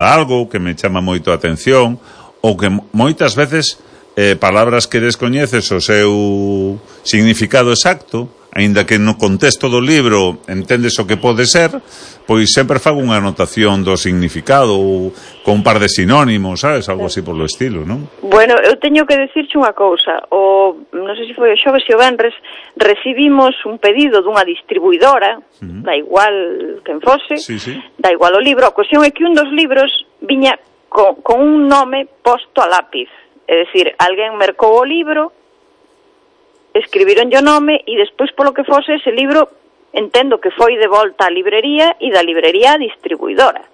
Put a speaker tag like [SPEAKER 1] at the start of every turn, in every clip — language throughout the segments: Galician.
[SPEAKER 1] algo que me chama moito a atención, ou que moitas veces palabras que descoñeces o seu significado exacto, aínda que no contexto do libro entendes o que pode ser, pois sempre fago unha anotación do significado ou con un par de sinónimos, sabes? Algo así por lo estilo, non?
[SPEAKER 2] Bueno, eu teño que decirche unha cousa. Non sei se foi o xoves e o venres, recibimos un pedido dunha distribuidora, da igual quen fose, da igual o libro. A cuestión é que un dos libros viña con un nome posto a lápiz. É dicir, alguén mercou o libro, escribiron o nome e despois polo que fose ese libro entendo que foi de volta á librería e da librería á distribuidora.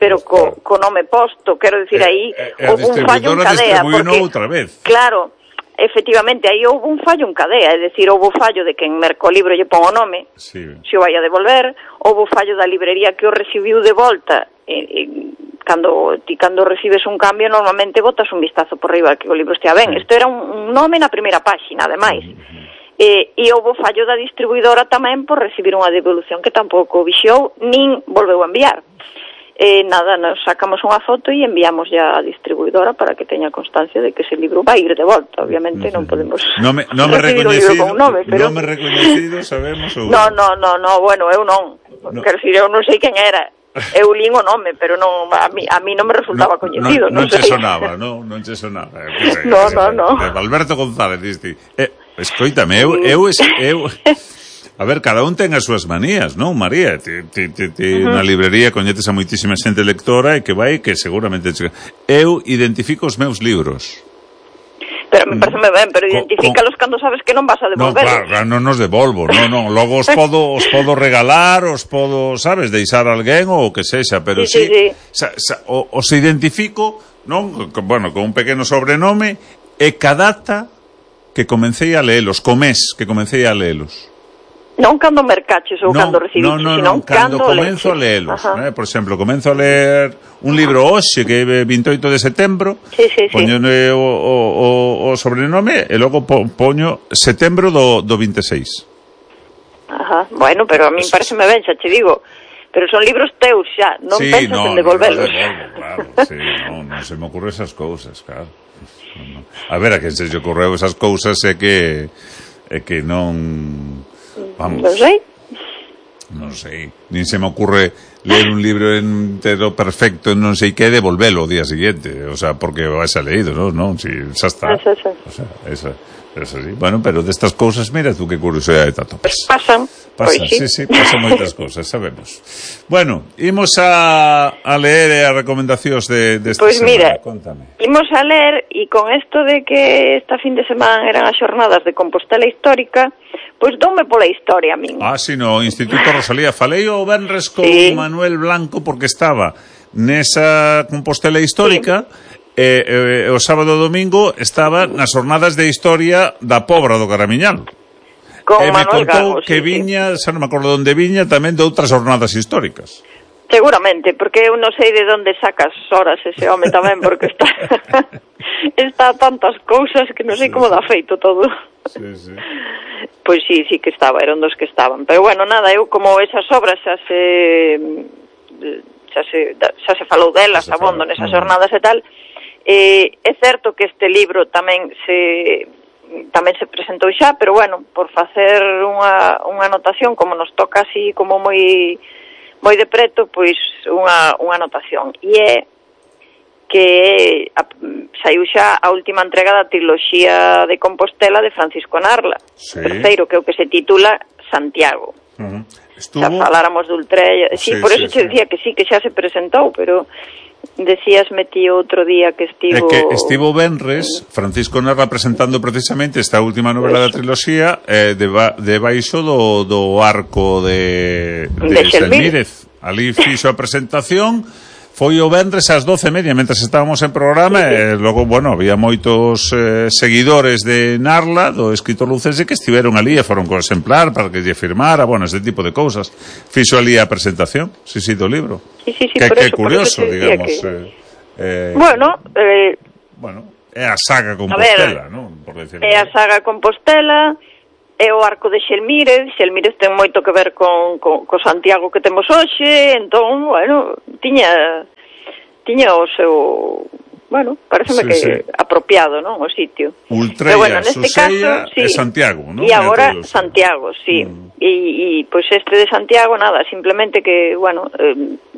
[SPEAKER 2] Pero co nome posto, quero dicir, aí houve un fallo en cadea.
[SPEAKER 1] Porque outra vez.
[SPEAKER 2] Claro, efectivamente, aí houve un fallo en cadea, é dicir, houve o fallo de que en merco libro lle pon o nome, se o vai a devolver, houve o fallo da librería que o recibiu de volta. Cando recibes un cambio normalmente botas un vistazo por riba que o libro estea ben. Isto era un nome na primeira páxina, ademais. E houve fallo da distribuidora tamén por recibir unha devolución que tampouco vixiou nin volveu a enviar. Nada, nos sacamos unha foto e enviamos ya á distribuidora para que teña constancia de que ese libro vai ir de volta. Obviamente non podemos recibir o libro con un nome, pero...
[SPEAKER 1] Nome recoñecido, sabemos? Ou...
[SPEAKER 2] No, bueno, eu non. Quero dicir, eu non sei quen era. Eu lín o nome, pero non a mí non me resultaba coñecido.
[SPEAKER 1] Non che sonaba, non che sonaba.
[SPEAKER 2] No.
[SPEAKER 1] Alberto González, diste. Escoítame, eu a ver, cada un ten as súas manías, non, María? Na librería coñetes a moitísima xente lectora e que vai, que seguramente... Eu identifico os meus libros.
[SPEAKER 2] Pero me parece ben, pero identifícalos cando sabes que non vas a devolverlos.
[SPEAKER 1] Non, claro, non os devolvo, non. Logo os podo regalar, os podo, sabes, deixar a alguén ou o que sexa, pero sí. Os identifico, non? Bueno, con un pequeno sobrenome e cada data que comecei a leelos, que comecei a leelos.
[SPEAKER 2] Non cando mercaches ou cando recibiste, sino
[SPEAKER 1] cando comenzo a leelos. Por exemplo, comenzo a ler un libro hoxe que é 28 de setembro, poño o sobrenome e logo poño setembro do 26.
[SPEAKER 2] Bueno, pero a mí pareceme ben, xa che digo, pero son libros teus xa, non pensas en devolvelos.
[SPEAKER 1] Claro, non se me ocurre esas cousas, claro. A ver, a quen se lle ocorreu esas cousas é que non... Vamos. Non sei. Nin se me ocurre ler un libro entero perfecto, non sei que, devolvelo o día siguiente. O sea, porque vais a leído, non? Si, xa está. O sea, esa sí. Bueno, pero destas cousas, mira tú que curiosidade te atopas.
[SPEAKER 2] Pasan.
[SPEAKER 1] Sí, pasan moitas cousas, sabemos. Bueno, imos a leer as recomendacións desta semana.
[SPEAKER 2] Mira,
[SPEAKER 1] Contame.
[SPEAKER 2] Imos a ler, e con esto de que esta fin de semana eran as xornadas de Compostela Histórica, pois doume pola historia a min.
[SPEAKER 1] Sí, no Instituto Rosalía. Falei o venres con Manuel Blanco porque estaba nesa Compostela Histórica e o sábado e domingo estaba nas xornadas de historia da Pobra do Caramiñal.
[SPEAKER 2] Con
[SPEAKER 1] me
[SPEAKER 2] Manuel
[SPEAKER 1] contou
[SPEAKER 2] Gago,
[SPEAKER 1] que viña, xa non me acordo onde viña, tamén de outras xornadas históricas.
[SPEAKER 2] Seguramente, porque eu non sei de onde sacas horas ese home tamén, porque está a tantas cousas que non sei como dá feito todo.
[SPEAKER 1] Sí.
[SPEAKER 2] Pois sí que estaba, eran dos que estaban. Pero bueno, nada, eu como esas obras xa se falou delas, abondo nesas xornadas e tal, é certo que este libro tamén se presentou xa, pero bueno, por facer unha anotación, como nos toca así como moi de preto, pois unha anotación. E é que saiu xa a última entrega da triloxía de Compostela de Francisco Narla, terceiro, que é o que se titula Santiago. Xa faláramos de Ultrella, por eso te decía que sí, que xa se presentou, pero decíasme ti outro día que estivo...
[SPEAKER 1] Estivo venres Francisco Narra presentando precisamente esta última novela da triloxía debaixo do arco de Xelmírez. Ali fixo a presentación, foi o venres ás 12:30 mentras estábamos en programa, e logo, bueno, había moitos seguidores de Narla, do escritor lucense, que estiveron ali e foron co exemplar para que lle firmara, bueno, ese tipo de cousas. Fixo ali a presentación, do libro.
[SPEAKER 2] Sí,
[SPEAKER 1] que curioso, digamos.
[SPEAKER 2] Bueno,
[SPEAKER 1] é a saga Compostela, non? Por decirlo.
[SPEAKER 2] É a saga Compostela, é o arco de Xelmírez. Xelmírez ten moito que ver co Santiago que temos hoxe, entón, bueno, tiña o seu... Bueno, pareceme que apropiado, non, o sitio.
[SPEAKER 1] Ultreia, bueno, Susella e Santiago, non?
[SPEAKER 2] E agora Santiago, sí. E pois este de Santiago, nada, simplemente que, bueno,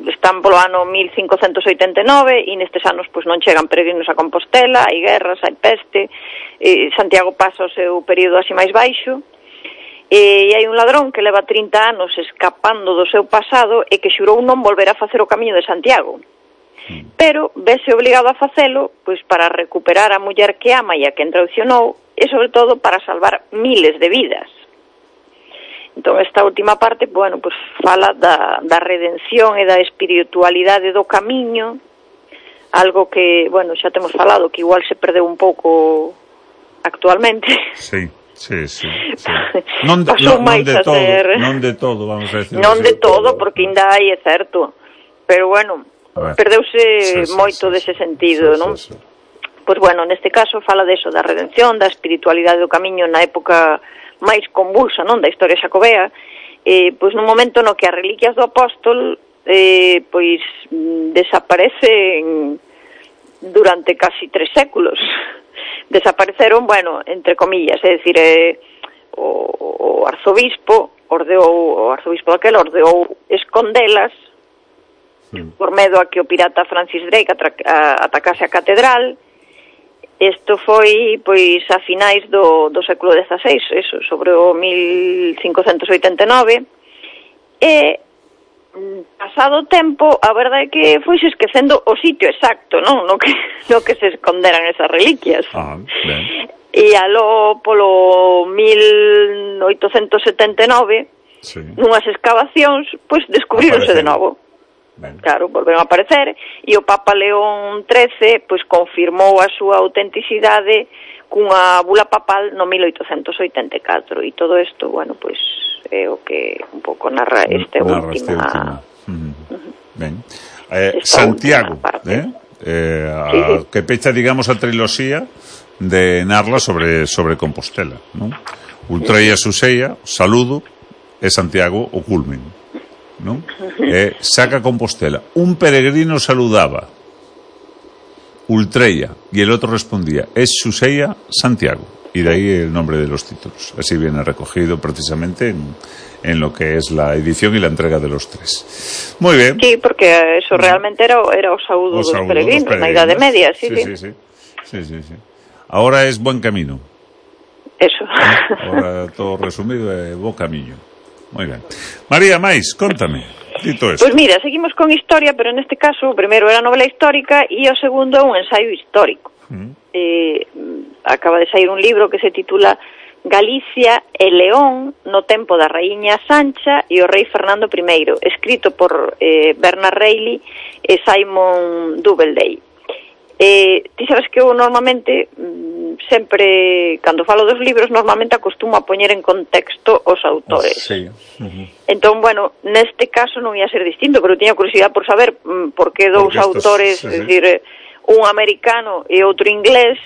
[SPEAKER 2] están polo ano 1589 e nestes anos pois non chegan peregrinos a Compostela, hai guerras, hai peste, Santiago pasa o seu período así máis baixo, e hai un ladrón que leva 30 anos escapando do seu pasado e que xurou non volver a facer o camiño de Santiago. Pero vese obligado a facelo pois para recuperar a muller que ama e a que traicionou e sobre todo para salvar miles de vidas. Entón esta última parte, bueno, pois fala da redención e da espiritualidade do camiño, algo que, bueno, xa temos falado que igual se perdeu un pouco actualmente.
[SPEAKER 1] Sí. Non de todo, vamos a decir.
[SPEAKER 2] Non de todo, porque ainda hai, é certo, pero bueno, perdeuse moito dese sentido, non? Pois bueno, neste caso fala deso, da redención, da espiritualidade do camiño na época máis convulsa, non, da historia xacobea, pois nun momento no que as reliquias do apóstol pois desaparecen durante casi 3 séculos. Desapareceron, bueno, entre comillas, é dicir, o arzobispo ordeou escondelas por medo a que o pirata Francis Drake atacase a catedral. Isto foi, pois, a finais do século XVI, eso, sobre o 1589, e, pasado o tempo, a verdade é que foise esquecendo o sitio exacto, non? No que se esconderan esas reliquias. E aló, polo 1879, nunhas excavacións, pois, descubríronse de novo. Claro, volveron a aparecer e o Papa León XIII pois confirmou a súa autenticidade cunha bula papal no 1884 e todo isto, bueno, pois é o que un pouco narra esta última.
[SPEAKER 1] Ben. Santiago, que pecha, digamos, a triloxía de narra sobre Compostela, non? Ultreia, Susella, Saludo e Santiago o culmen, non? Saca Compostela. Un peregrino saludaba Ultreia y el otro respondía, es Susella, Santiago. Y de ahí el nombre de los títulos. Así viene recogido precisamente en lo que es la edición y la entrega de los 3. Muy bien.
[SPEAKER 2] Sí, porque eso realmente era o saúdo dos peregrinos na Idade Media. Sí.
[SPEAKER 1] Ahora es buen camino.
[SPEAKER 2] Eso.
[SPEAKER 1] Ahora todo resumido é bo camiño. Moi ben. María, máis, contame, dito eso.
[SPEAKER 2] Pois mira, seguimos con historia, pero neste caso o primeiro era novela histórica e o segundo é un ensaio histórico. Acaba de sair un libro que se titula Galicia e León no tempo da raíña Sancha e o rei Fernando I, escrito por Bernard Reilly e Simon Doubleday. Ti sabes que eu normalmente sempre, cando falo dos libros, normalmente acostumo a poñer en contexto os autores.
[SPEAKER 1] Sí.
[SPEAKER 2] Entón, bueno, neste caso non ia ser distinto, pero tiña curiosidade por saber por que dous autores, é dicir, un americano e outro inglés,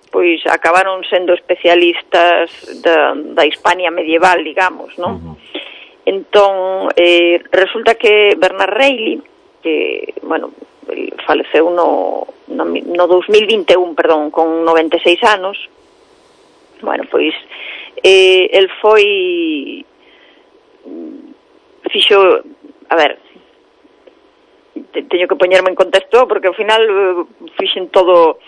[SPEAKER 2] pois acabaron sendo especialistas da Hispania medieval, digamos, non? Entón, resulta que Bernard Reilly, que, bueno, faleceu no 2021, perdón, con 96 anos. Bueno, pois el foi fixo, a ver, teño que poñerme en contexto porque ao final fixen todo.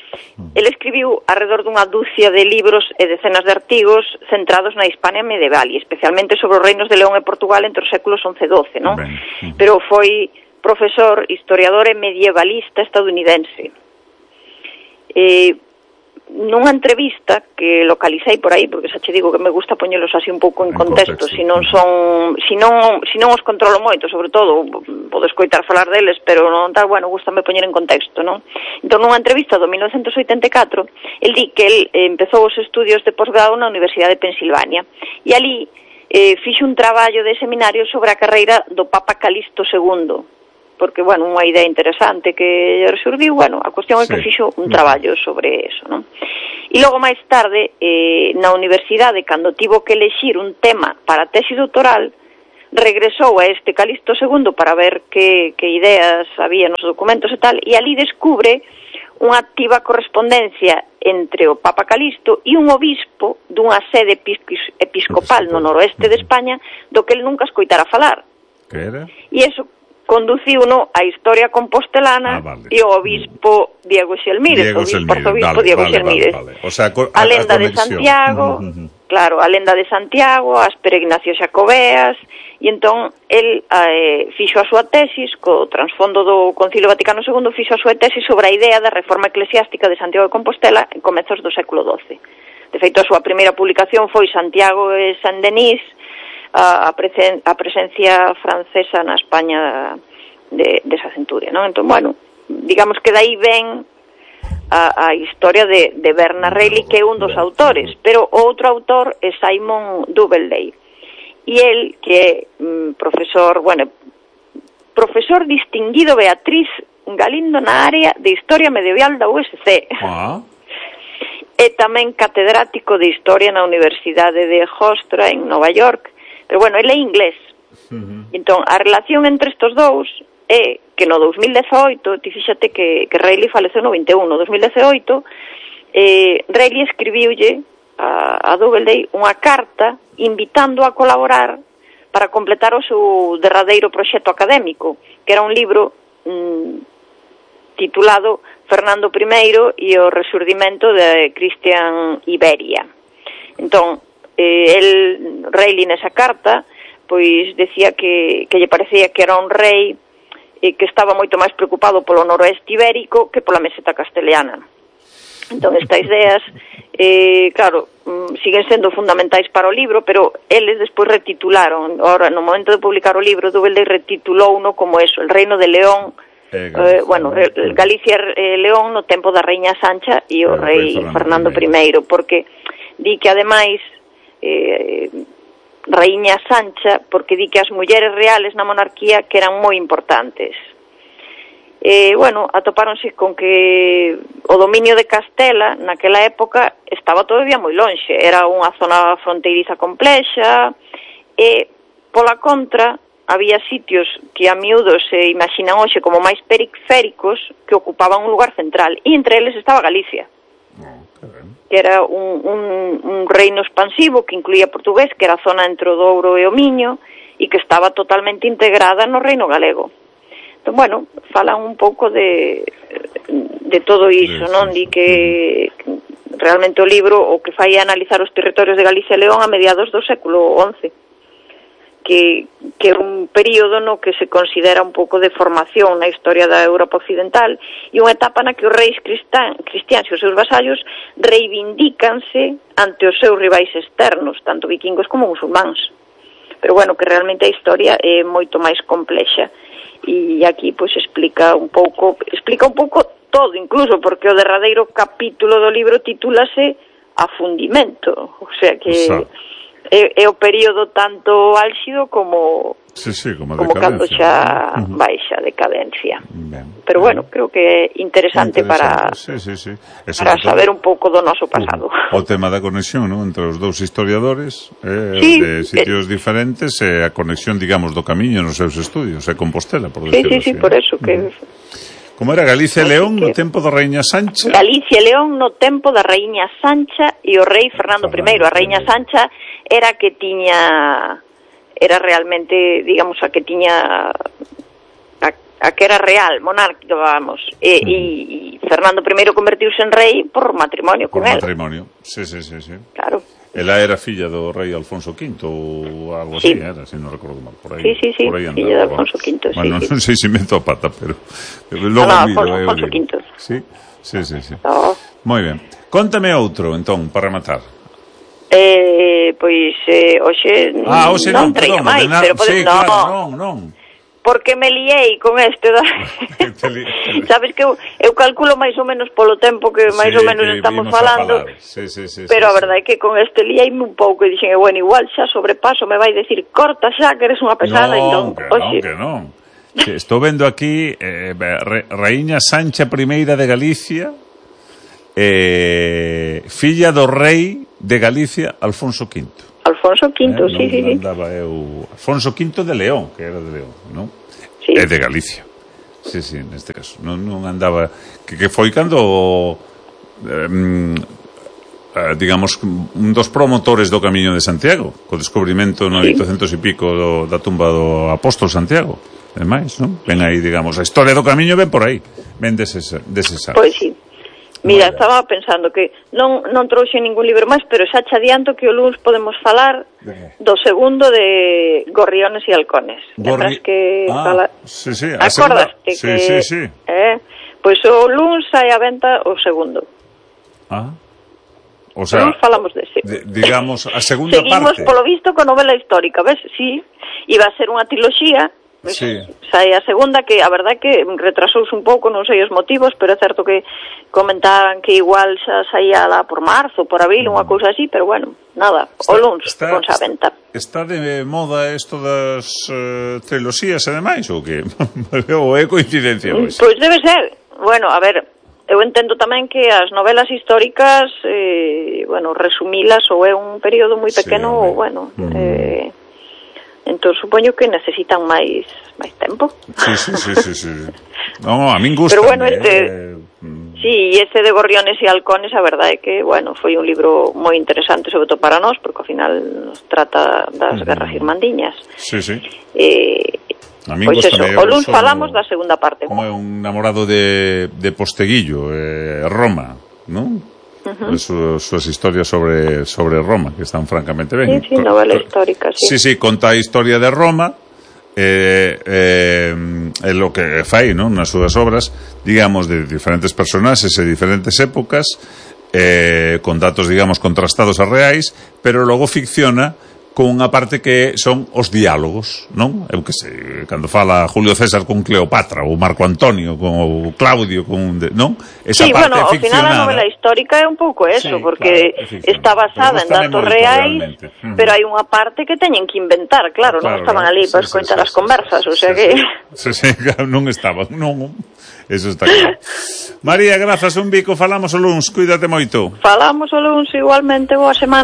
[SPEAKER 2] El escribiu alrededor dunha dúcia de libros e decenas de artigos centrados na Hispania medieval e especialmente sobre os reinos de León e Portugal entre os séculos 11 e 12, non? Pero foi profesor, historiador e medievalista estadounidense. Nunha entrevista que localicei por aí, porque xa che digo que me gusta poñelos así un pouco en contexto, se non os controlo moito, sobre todo, podo escoitar falar deles, pero non tal, bueno, gustame poñer en contexto, non? Entón, nunha entrevista do 1984, el di que el empezou os estudios de posgrado na Universidade de Pensilvania, e ali fixo un traballo de seminario sobre a carreira do Papa Calixto II, porque, bueno, unha idea interesante que surdiu, bueno, a cuestión é que fixo un traballo sobre eso, non? E logo máis tarde, na universidade, cando tivo que elexir un tema para a tesi doutoral, regresou a este Calixto II para ver que ideas había nos documentos e tal, e ali descubre unha activa correspondencia entre o Papa Calixto e un obispo dunha sede episcopal no noroeste de España do que el nunca escoitara falar.
[SPEAKER 1] Que era?
[SPEAKER 2] E iso conduciuno á historia compostelana e o obispo Diego Xelmírez, o obispo arzobispo Diego Xelmírez.
[SPEAKER 1] O sea,
[SPEAKER 2] a lenda de Santiago, claro, a lenda de Santiago, as peregrinacións xacobeas, e entón el fixo a súa tesis co trasfondo do Concilio Vaticano II, fixo a súa tesis sobre a idea da reforma eclesiástica de Santiago de Compostela en comezos do século XII. De feito, a súa primeira publicación foi Santiago e Saint-Denis, a presencia francesa na España desa centuria, non? Entón, bueno, digamos que dai ven a historia de Bernard Reilly, que é un dos autores, pero o outro autor é Simon Doubleday. E el, que é profesor profesor distinguido Beatriz Galindo na área de Historia Medieval da USC. É tamén catedrático de Historia na Universidade de Hofstra en Nova York, pero bueno, ele é inglés. Entón, a relación entre estes dous é que no 2018, ti fíxate que Reilly faleceu no 21, no 2018, Reilly escribiulle a Doubleday unha carta invitando a colaborar para completar o seu derradeiro proxecto académico, que era un libro titulado Fernando I e o resurdimento de Cristian Iberia. Entón, Reilly nesa carta pois decía que lle parecía que era un rei que estaba moito máis preocupado polo noroeste ibérico que pola meseta castelhana. Entón, estas ideas, claro, siguen sendo fundamentais para o libro, pero eles despois retitularon. Ahora, no momento de publicar o libro, Doubleday retitulouno como eso, el reino de León, Galicia e León no tempo da Raíña Sancha e o rei Fernando I, porque di que, ademais, Raíña Sancha, porque di que as mulleres reales na monarquía que eran moi importantes. Bueno, atopáronse con que o dominio de Castela naquela época estaba todavía moi lonxe, era unha zona fronteiriza complexa e, pola contra, había sitios que a miúdo se imaginan hoxe como máis periféricos que ocupaban un lugar central, e entre eles estaba Galicia, que era un reino expansivo que incluía portugués, que era a zona entre o Douro e o Miño, e que estaba totalmente integrada no reino galego. Entón, bueno, falan un pouco de todo iso, non? Di que realmente o libro o que fai é analizar os territorios de Galicia e León a mediados do século XI, que é un período no que se considera un pouco de formación na historia da Europa occidental e unha etapa na que os reis cristiáns e os seus vasallos reivindícanse ante os seus rivais externos, tanto vikingos como musulmáns. Pero bueno, que realmente a historia é moito máis complexa. E aquí pois explica un pouco todo, incluso porque o derradeiro capítulo do libro titúlase Afundimento, o sea que é o período tanto álxido como cando xa baixa decadencia. Pero bueno, creo que é interesante para saber un pouco do noso pasado.
[SPEAKER 1] O tema da conexión, non, entre os dous historiadores de sitios diferentes e a conexión, digamos, do camiño nos seus estudios, e Compostela, por decirlo así.
[SPEAKER 2] Sí, por eso que...
[SPEAKER 1] Como era Galicia e León no tempo da Raíña Sancha?
[SPEAKER 2] Galicia e León no tempo da Raíña Sancha e o rei Fernando I. A Raíña Sancha era que tiña... Era realmente, digamos, a que tiña... A que era real, monárquica, vamos. E Fernando I convertiuse en rei por matrimonio con él.
[SPEAKER 1] Por matrimonio, sí.
[SPEAKER 2] Claro.
[SPEAKER 1] Ela era filla do rei Alfonso V ou algo así, era, se non recordo mal, por aí.
[SPEAKER 2] Sí,
[SPEAKER 1] por aí
[SPEAKER 2] filla de Alfonso V,
[SPEAKER 1] bueno, non sei se meto a pata, pero
[SPEAKER 2] logo Alfonso V.
[SPEAKER 1] Sí. Moi ben. Contame outro, entón, para rematar.
[SPEAKER 2] Pois, hoxe non traía máis, pero podemos...
[SPEAKER 1] Non.
[SPEAKER 2] Porque me liei con este sabes que eu calculo máis ou menos polo tempo que máis ou menos estamos falando, pero a verdade é que con este liei-me un pouco e dixen, bueno, igual xa sobrepaso me vai decir, corta xa que eres unha pesada.
[SPEAKER 1] Non, que non. Estou vendo aquí Raíña Sancha I de Galicia filla do rei de Galicia, Alfonso V.
[SPEAKER 2] Alfonso V, sí.
[SPEAKER 1] Alfonso V de León, que era de León, non?
[SPEAKER 2] Sí.
[SPEAKER 1] É de Galicia. Sí, neste caso. Non andaba... Que foi cando... digamos, un dos promotores do Camiño de Santiago, co descubrimento no 800 e pico da tumba do apóstol Santiago. É máis, non? Ven aí, digamos, a historia do Camiño ven por aí. Ven deses anos.
[SPEAKER 2] Pois sí. Mira, estaba pensando que non trouxe ningún libro máis, pero xa che adianto que o luns podemos falar do segundo de Gorriones e Halcones. Lembras que
[SPEAKER 1] sí,
[SPEAKER 2] acordaste que
[SPEAKER 1] sí.
[SPEAKER 2] Pois o luns sai a venta o segundo.
[SPEAKER 1] O sea,
[SPEAKER 2] luns falamos dese.
[SPEAKER 1] Digamos, a segunda
[SPEAKER 2] Seguimos,
[SPEAKER 1] parte.
[SPEAKER 2] polo visto, con novela histórica, ves? Sí, iba a ser unha triloxía.
[SPEAKER 1] Sí.
[SPEAKER 2] Sai a segunda, que a verdade que retrasouse un pouco, non sei os motivos, pero é certo que comentaban que igual xa saía lá por marzo, por abril, unha cousa así, pero bueno, nada, o luns ponse a venta.
[SPEAKER 1] Está de moda isto das triloxías e demais, ou que? Ou é coincidencia?
[SPEAKER 2] Pois debe ser. Bueno, a ver, eu entendo tamén que as novelas históricas, resumilas ou é un período moi pequeno, entón supoño que necesitan máis tempo.
[SPEAKER 1] Sí. No, a min gusta.
[SPEAKER 2] Pero bueno, sí, ese de Gorriones e Halcones, a verdade é que, foi un libro moi interesante, sobre todo para nós, porque ao final nos trata das guerras irmandiñas.
[SPEAKER 1] Sí. A min
[SPEAKER 2] pois eso, o luns falamos da segunda parte.
[SPEAKER 1] Como é un namorado de Posteguillo, Roma, non? As súas historias sobre Roma, que están francamente ben.
[SPEAKER 2] Sí, novela histórica, sí.
[SPEAKER 1] Sí, conta a historia de Roma, é lo que fai, non? Nas súas obras, digamos, de diferentes personaxes e diferentes épocas, con datos, digamos, contrastados a reais, pero logo ficciona con unha parte que son os diálogos, non? Eu que sei, cando fala Julio César con Cleopatra, ou Marco Antonio con o Claudio, non? Esa parte
[SPEAKER 2] ao final a novela histórica é un pouco eso, porque está basada en datos reais, pero hai unha parte que teñen que inventar, claro, non estaban ali para escoitar as conversas, o sea que...
[SPEAKER 1] Sí, non estaban, non... Eso está claro. María, grazas, un bico, falamos o luns, cuídate moito.
[SPEAKER 2] Falamos o luns igualmente, boa semana.